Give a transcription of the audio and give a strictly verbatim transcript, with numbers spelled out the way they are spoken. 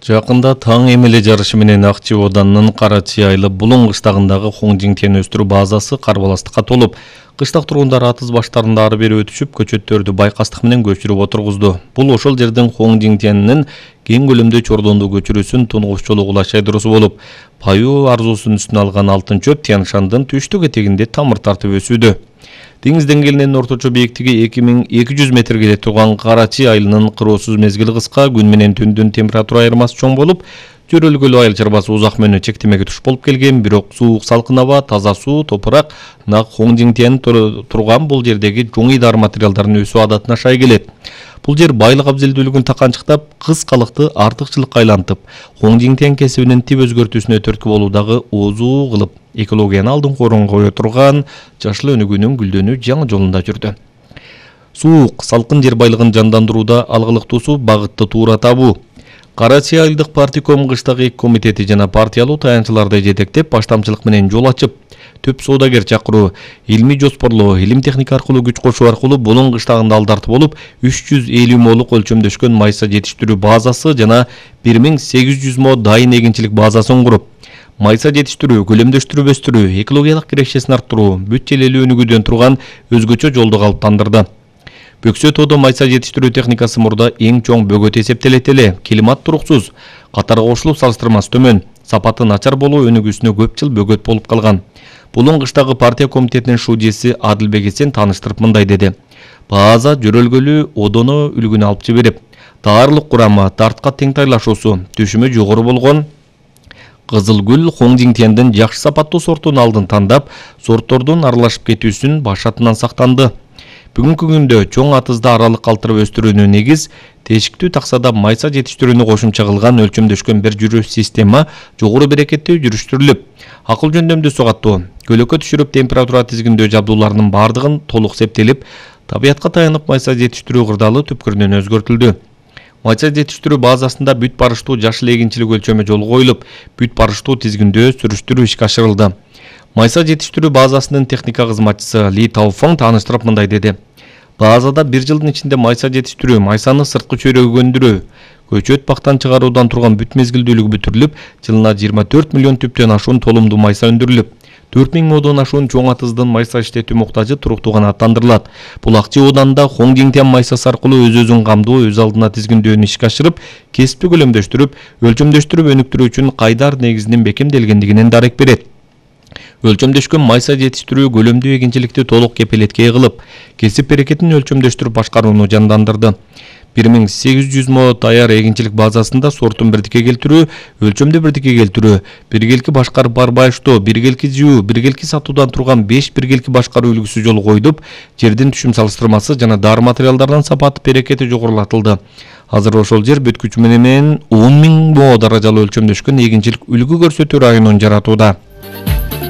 Жакында таң эмеле жарышы менен Акчи Оодунун Карачи айылы Булуң кыштагындагы Хоңжиңтен өстүрүү базасы карбаластыкка толуп, кыштак тургундар атыз баштарында ары бери өтүшүп, көчөттөрдү байкастык менен көчүрүп отургузду. Бул ошол жердин Хоңжиңтенинин кең көлөмдө чордондуу көчүрүүсүн тунгуч жолу кулаш айдоосу болуп, паю арзуусунун үстүнө алган алтын чөп Тянь-Шандын түштүк этегинде тамыр тартып өсүүдө. Деңиз деңгээлинин орточо бийиктиги эки миң эки жүз метрге турган Карачи айылынын кыроосуз мезгили кыска, күн менен түндүн температура айырмасы чоң болуп, жөрөлгөлүү айыл чарбасы узак мөөнөт чектемеге туш болуп келген, бирок суук салкын аба, таза суу, топурак, нак Хоңжиңтен турган бул жердеги жоң идаар материалдардын өсүү адатына шай келет. Бул жер байлык абзелдүүлүгүн таканчыктап, кыскалыкты артыкчылыкка айлантып, Хоңжиңтен кесибинин тип өзгөртүүсүнө түрткү болуудагы оозу кылып, экологияны алдыңкы орунга кое турган жашыл өнүгүүнүн гүлдөнүү жаңы жолунда жүрдү. Суук, салкын жер байлыгын жандандырууда алгылыктуусу багытты туура табуу. Карачи айылдык партком кыштак эки комитети жана партиялуу таянчыларды жетектеп, баштамчылык менен жол ачып, төп соодагер чакыруу, илмий жоспорлоо, илим техника аркылуу күч кошуу аркылуу Булуң кыштагында алдарты болуп, үч жүз элүү молук өлчөмдөшкөн майса жетиштирүү базасы жана бир миң сегиз жүз мо дайын эгинчилик базасын куруп, майса жетиштирүү, көлөмдөштүрүп өстүрүү, экологиялык кирешесин арттыруу, бүт желелүү өнүгүүдөн турган өзгөчө жолду калыптандырды. Бөксө тоодо майса жетиштирүү техникасы мурда эң чоң бөгөт эсептелет эле, климат туруксуз, катарга кошулуп салыштырмасы төмөн, сапаты начар болуу өнүгүүсүнө көп жыл бөгөт болуп калган. Булуң кыштагы партия комитетинин шужеси Адылбек Эсен тааныштырып мындай деди: база жөрөлгөлүү одоно үлгүнө алып жиберип, даарылык курамы, тартка тең тайлашуусу, түшүмү жогору болгон Кызыл гүл Хоңжиңтендин жакшы сапаттуу сортун алдын тандап, сорттордун аралашып кетүүсүн башатынан сактанды. Бүгүнкү күндө чоң атызда аралык калтырып өстүрүүнү негиз, тешиктүү таксада майса жетиштирүүнү кошумча кылган өлчөмдөшкөн бир жүрүү система жогору берекеттүү жүрүштүрүлүп, акыл жөндөмдүү суу каттоо, көлөкө түшүрүп температура тизгиндөө жабдууларынын бардыгын толук септелип, табиятка таянып майса жетиштирүү кырдаалы түпкүрүнөн өзгөртүлдү. Майса жетиштирүү базасында бүт барыштуу жашыл эгинчилик өлчөмү жолго коюлуп, бүт барыштуу тизгиндөө сүрүштүрүү ишке ашырылды. Майса жетиштирүү базасынын техника кызматчысы Ли Тауфоң тааныштырып мындай деди: базада бир жылдын ичинде майса жетиштирүү, майсаны сырткы чөйрөгө өндүрүү, көчөт бактан чыгаруудан турган бүт мезгилдүүлүгү бүтүрүлүп, жылына жыйырма төрт миллион түптөн ашуун толумдуу майса өндүрүлүп, төрт миң модон ашуун чоң атыздын майса иштетүү муктажы туруктуу канааттандырылат. Бул Акчи Оодунда Хоңжиңтен майсасы аркылуу өз-өзүн камдоо, өз алдына тизгиндөөнү ишке ашырып, кесипти көлөмдөштүрүп, өлчөмдөштүрүп өнүктүрүү үчүн кайдар негизинин бекемделгендигинен дарек берет. Өлчөмдөшкөн майса жетиштирүү көлөмдүү эгинчиликти толук кепилетке кылып, кесип берекетин өлчөмдөштүрүп башкарууну жандандырды. бир миң сегиз жүз мо даяр эгинчилик базасында сортун бирдикке келтирүү, өлчөмдү бирдикке келтирүү, биргелки башкарып барбаштоо, биргелки жуу, биргелки сатуудан турган беш биргелки башкаруу үлгүсү жолго койдуп, жердин түшүм салыштырмасы жана дары материалдардын сапаты берекети жогорулатылды. Азыр ошол жер бүт күчү менен он миң мо даражалуу өлчөмдөшкөн эгинчилик үлгү көрсөтүү районун жаратууда.